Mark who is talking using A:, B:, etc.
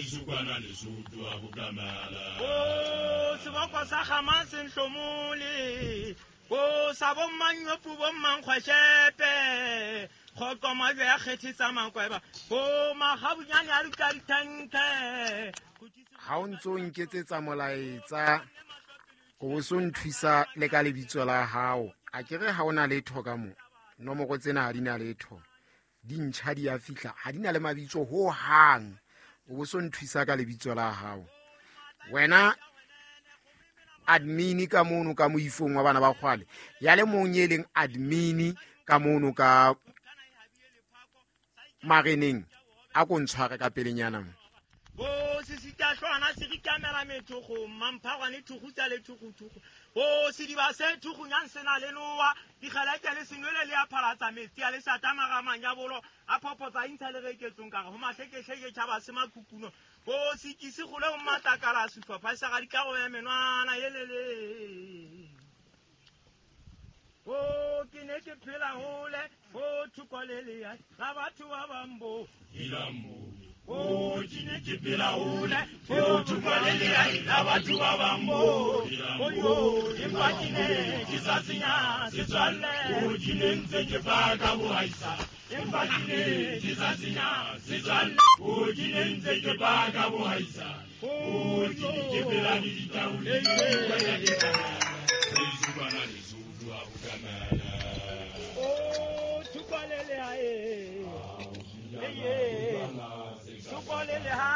A: Heso kwana Lesotho a bokamala.
B: O seboko sa gama senhlomole o sa bommanyopu bommankgweshepe kgoqo majwe ya kgethetsa makweba o magabunyane a dutla dithenke.
C: Ha o ntso nketsetsa molaetsa, o bo so nthusa le ka lebitso la hao. A ke re ha o na letho ka mo nomoro tsena ha di na letho, di ntjha di a fihla, ha di na le mabitso ho hang. O bo so nthusa ka lebitso la hao wena admin ka mono ka moifong wa bana ba kgwale, ya le mong e leng admin ka mono ka mareneng, a ko ntshware ka pelenyana mo.
B: O sesitahlwana se rikamela methogo mamphagwane thugutsa le thuguthugu o sediba se thugunyang se na le noa dikgeleke le senwele le a phalatsa metsi a le satamagamanyabolo a phophotsa intsha le reketsong ka re go mahlekehleke tšhaba se makhukuno o sekise gole go matlakala sehlopha sa ga ditlago ya menwana elele. O ke ne ke phela hole o thoko le lea la batho ba bambo. O ke ne ke phela hole o thoko le lea la batho ba bambo. Oyo empa ke ne ke sa senya setswalle.
A: O ke ne ntse ke paka bohaisa, empa ke ne ke sa senya setswalle. O ke ne ntse ke paka bohaisa. O ke ne ke phela le ditaole. Heso kwana Lesotho a bokamala.
B: O thoko le lea e. Thoko le lea.